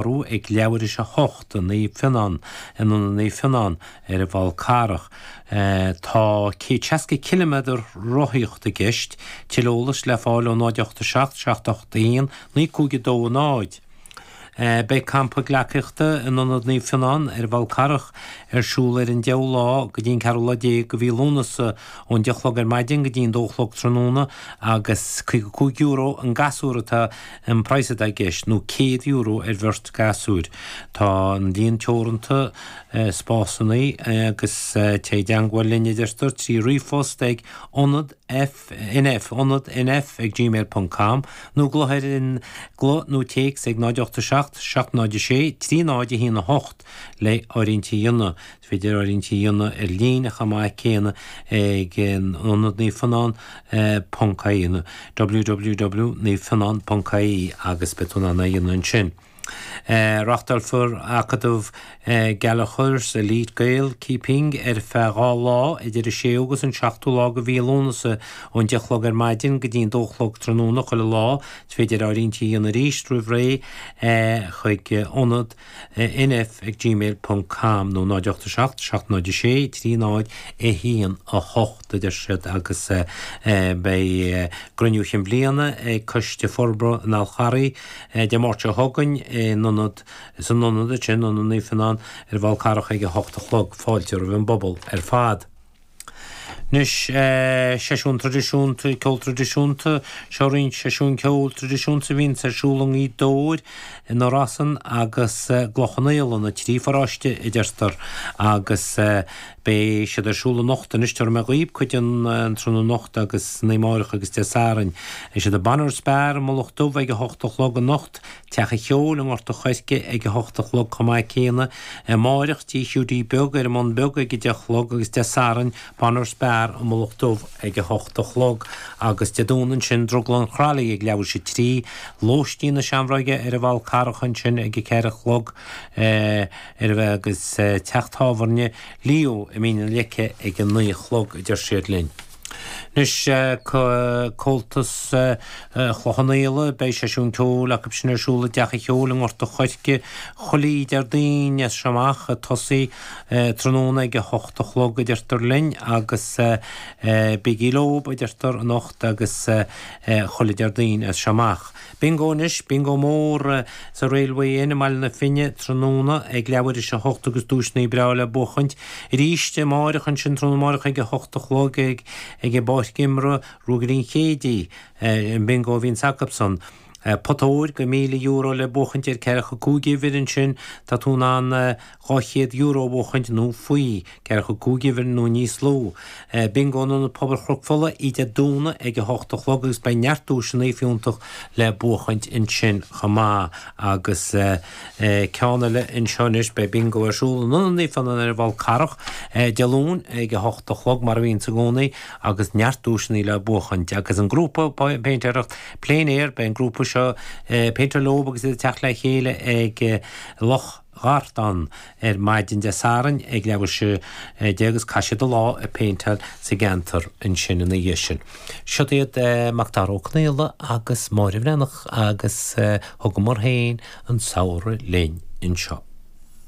Ag leathuair théis 8 i Naomh Fionnán, in Ionad Naomh Fionnán ar an bhFál Carrach. Tá 160 ciliméadar rothaíochta i gceist. Tuilleadh eolais le fáil ó 087 781 9520. Beidh campa gleacaíochta in Ionad Naomh Fionnán ar an bhFál Carrach ar siúl ar an deichiú lá go dtí an ceathrú lá déag de mhí Lúnasa ón 10 a chlog ar maidin go dtí an 2 a chlog tráthnóna agus €55 an gasúr atá An praghas atá i gceist nó €100 ar bheirt gasúir. Tá an líon teoranta spásanna agus téigh i dteangmháil linn a deirtear trí ríomhphost ag ionad F NF ionad NF ag gmail ponc com nó glaoch ar an glaoch nó téacs ag 0 8 7 7 0 6 3 0 1 8 le áirithintí a dhéanamh. Is féidir áirithintí a dhéanamh ar líne chomh maith céanna ag Ionad Naomh Fionnán ponc ie nó www naomhfionnán ponc ie agus beidh tú in ann é a dhéanamh ansin. Reáchtálfar Acadamh Gallaghers Elite Gael Keeping ar feadh 2 lá idir an 6ú agus an 7ú lá de mhí Lúnasa ón 10 a chlog ar maidin go dtí an 2 a chlog tráthnóna chuile lá. Is féidir áirithintí a dhéanamh arís roimh ré chuig Ionad nf ag gmail ponc com nó 0 8 7 7 0 6 3 0 1 8 a deir siad agus beidh cruinniú chinn bhliana ag Coiste Forbartha an Fháil Charraigh Dé Máirt seo chugainn in ionad san ionad sin, Ionad Naomh Fionnán ar an bhFál Carrach ag 8 a chlog. Fáilte roimh an bpobal ar fad. Anois, seisiún traidisiúnta, ceol traidisiúnta, seo roinnt seisiún ceoil traidisiúnta a bhíonns ar siúl i nGaoth Dobhair, i nDoire Easain agus i gCloich Cheann Fhaola, na trí pharóiste a deirtear, agus beidh siad ar siúl anocht anois, tabharfaidh mé dhaoib cuid den tráthnóna anocht agus san oíche amárach agus Dé Sathairn. Beidh siad i Bonner's Bar i Mullach Dubh ag a hocht a chlog anocht, Teach an Cheoil i nGort a' Choirce ag a hocht a chlog chomh maith céanna. Amáireach, Tí Hiúdaí Beag ar an mBun Beag ag a deich a chlog agus Dé Sathairn, Bonner's Bar i Mullach Dubh ag a hocht a chlog agus Dé Domhnaigh ansin, Drioglann Chrolly ag leathuair théis a 3, Lóistín na Seamróige ar an bhFál Carrach ansin ag a ceathair a chlog ar a agus Teach Tábhairne Leo i Mín na Leice ag a naoi a chlog a deir siad linn. Anois, Comhaltas Chloich Cheann Fhaola, beidh seisiún ceoil acu sin ar siúl i dTeach an Cheoil i nGort a' Choirce chuile Déardaoin as seo amach, ag tosaí tráthnóna ag a hocht a chlog a deirtear linn agus bígí leob a deirtear anocht agus chuile Déardaoin as seo amach. Bingo anois, bingo mór sa Railway Inn i mBaile na Finne tráthnóna ag leathuair théis a hocht agus duaiseanna breá le buachaint. Arís amáireach ansin, tráthnóna amáireach ag a hocht a chlog ag ag an bpáirc imeartha, Ruagairí an Chéididh, an bingo a bhíonns acubsan. Pota óir go €1,000 le buachaint ar ceathracha cúig uimhir ansin, tá tú in ann €200 a bhuachaint nó faoi ceathracha cúig uimhir nó níos lú. Bingo in Ionad Pobail Chnoc Fola oíche Dé Domhnaigh ag a hocht a chlog agus beidh neart duaiseanna fiúntach le buachaint ansin chomh maith. Agus ceann eile anseo anois, beidh bingo ar siúl in Ionad Naomh Fionnán ar an bhFál Carrach Dé Luain ag a hocht a chlog mar a bhíonns i gcónaí agus neart duaiseanna le buachaint. Agus an grúpa péintéireacht Plein Air, beidh an grúpa seo ag péinteáil leob agus iad ag teacht le chéile ag Loch Gartán ar maidin Dé Sathairn ag leathuair théis 10 agus caithfidh siad an lá ag péinteáil sa gceantar ansin ina dhiaidh sin. Siod iad Macdara Ó Conaola agus Máire Bhreathnach agus thugamar féin an samhradh linn anseo.